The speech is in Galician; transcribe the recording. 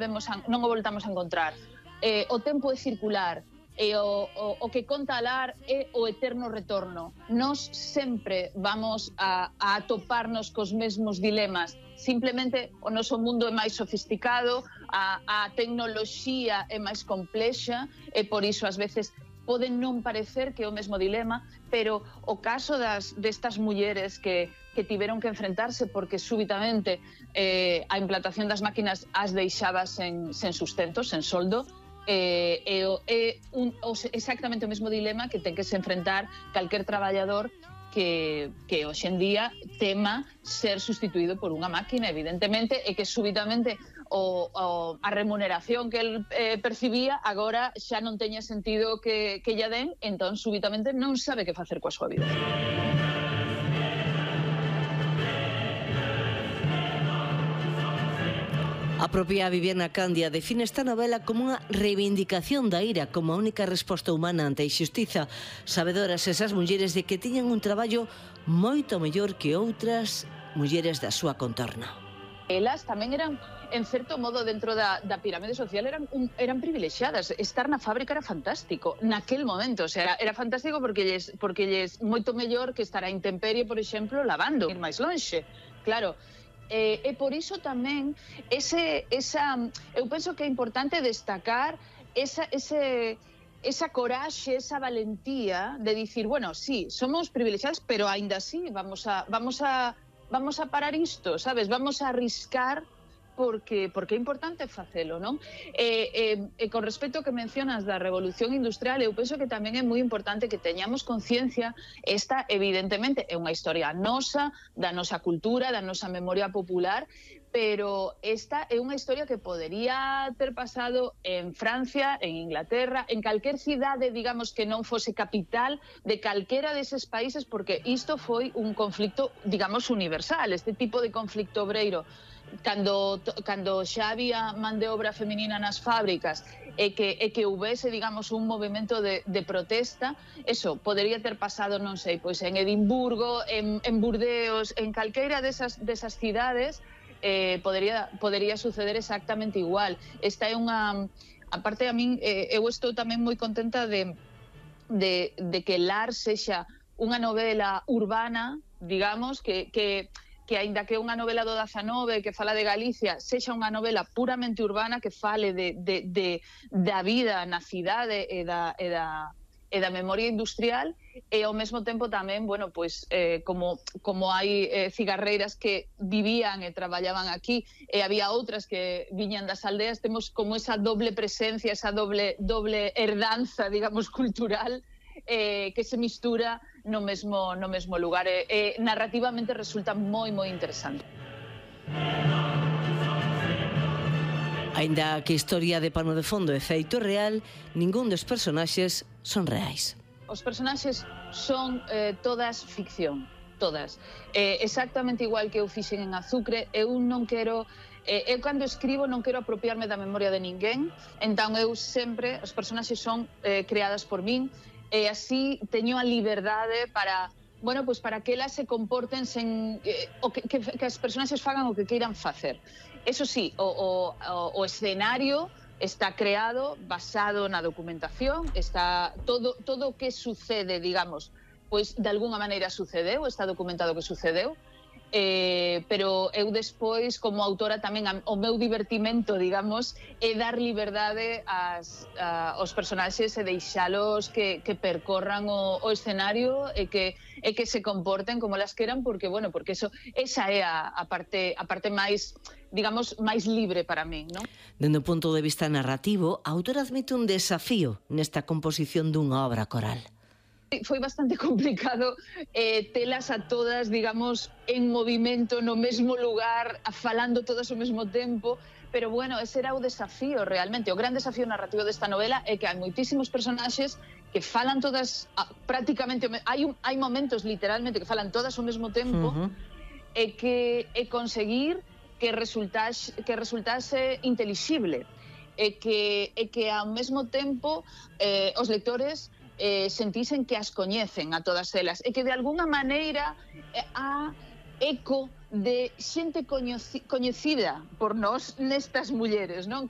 non o voltamos a encontrar. O tempo é circular, e o que conta alar é o eterno retorno. Nós sempre vamos a atoparnos cos mesmos dilemas. Simplemente o noso mundo é máis sofisticado, a tecnoloxía é máis complexa, e por iso ás veces pode non parecer que é o mesmo dilema, pero o caso destas mulleres que tiveron que enfrentarse porque súbitamente a implantación das máquinas as deixaba sen sustento, sen soldo, é exactamente o mesmo dilema que ten que se enfrentar calquer traballador que hoxe en día tema ser sustituído por unha máquina, evidentemente, e que súbitamente a remuneración que el percibía agora xa non teña sentido que lla den, entón súbitamente non sabe que facer coa súa vida. A propia Viviana Candia define esta novela como unha reivindicación da ira como a única resposta humana ante a injustiza, sabedoras esas mulleres de que tiñan un traballo moito mellor que outras mulleres da súa contorno. Elas tamén eran, en certo modo, dentro da pirámide social, eran privilexiadas. Estar na fábrica era fantástico, naquel momento. O sea, era fantástico porque lles moito mellor que estar a intemperie, por exemplo, lavando, ir máis lonxe. Claro. E por iso tamén eu penso que é importante destacar esa coraxe, esa valentía de dicir, bueno, sí, somos privilexiados, pero aínda así vamos a parar isto, sabes? Vamos a arriscar porque é importante facelo, non? Con respecto ao que mencionas da revolución industrial, eu penso que tamén é moi importante que teñamos conciencia. Esta, evidentemente, é unha historia nosa, da nosa cultura, da nosa memoria popular, pero esta é unha historia que podería ter pasado en Francia, en Inglaterra, en calquer cidade, digamos, que non fose capital de calquera deses países, porque isto foi un conflicto, digamos, universal, este tipo de conflicto obreiro. Cando xa había man de obra feminina nas fábricas e que houvese, digamos, un movimento de protesta, eso podería ter pasado, non sei, pois en Edimburgo, en Burdeos, en calqueira desas cidades, podería suceder exactamente igual. Esta é unha... Aparte, a min, eu estou tamén moi contenta de que Lar sexa unha novela urbana, digamos, que aínda que é unha novela do 19 que fala de Galicia, sexa unha novela puramente urbana que fale da vida na cidade e da memoria industrial, e ao mesmo tempo tamén, bueno, pois, como hai cigarreiras que vivían e traballaban aquí e había outras que viñan das aldeas, temos como esa doble presencia, esa doble herdanza, digamos, cultural, que se mistura no mesmo lugar. Narrativamente resulta moi interesante. Aínda que a historia de pano de fondo é feito real, ningún dos personaxes son reais. Os personaxes son todas ficción, todas. Exactamente igual que eu fixen en Azucre, eu non quero... Eu cando escribo non quero apropiarme da memoria de ninguén, entón eu sempre, os personaxes son creadas por min, e así teño a liberdade para, bueno, pues para que elas se comporten sen que as personaxes fagan o que queiran facer. Eso sí, o escenario está creado basado na documentación, está todo o que sucede, digamos, pois de alguna maneira sucedeu, está documentado que sucedeu, pero eu despois, como autora, tamén o meu divertimento, digamos, é dar liberdade aos personaxes e deixalos que percorran o escenario e que se comporten como elas queran, porque, bueno, porque esa é a parte máis, digamos, máis libre para min, non? Dende o punto de vista narrativo, a autora admite un desafío nesta composición dunha obra coral. Foi bastante complicado telas a todas, digamos, en movimento no mesmo lugar, falando todas ao mesmo tempo, pero bueno, ese era o desafío realmente. O gran desafío narrativo desta novela é que hai moitísimos personaxes que falan todas prácticamente, hai momentos literalmente que falan todas ao mesmo tempo, e conseguir que resultase intelixible, e que ao mesmo tempo os lectores sentisen que as coñecen a todas elas, e que de alguna maneira eco de xente coñecida por nós nestas mulleres, non? Que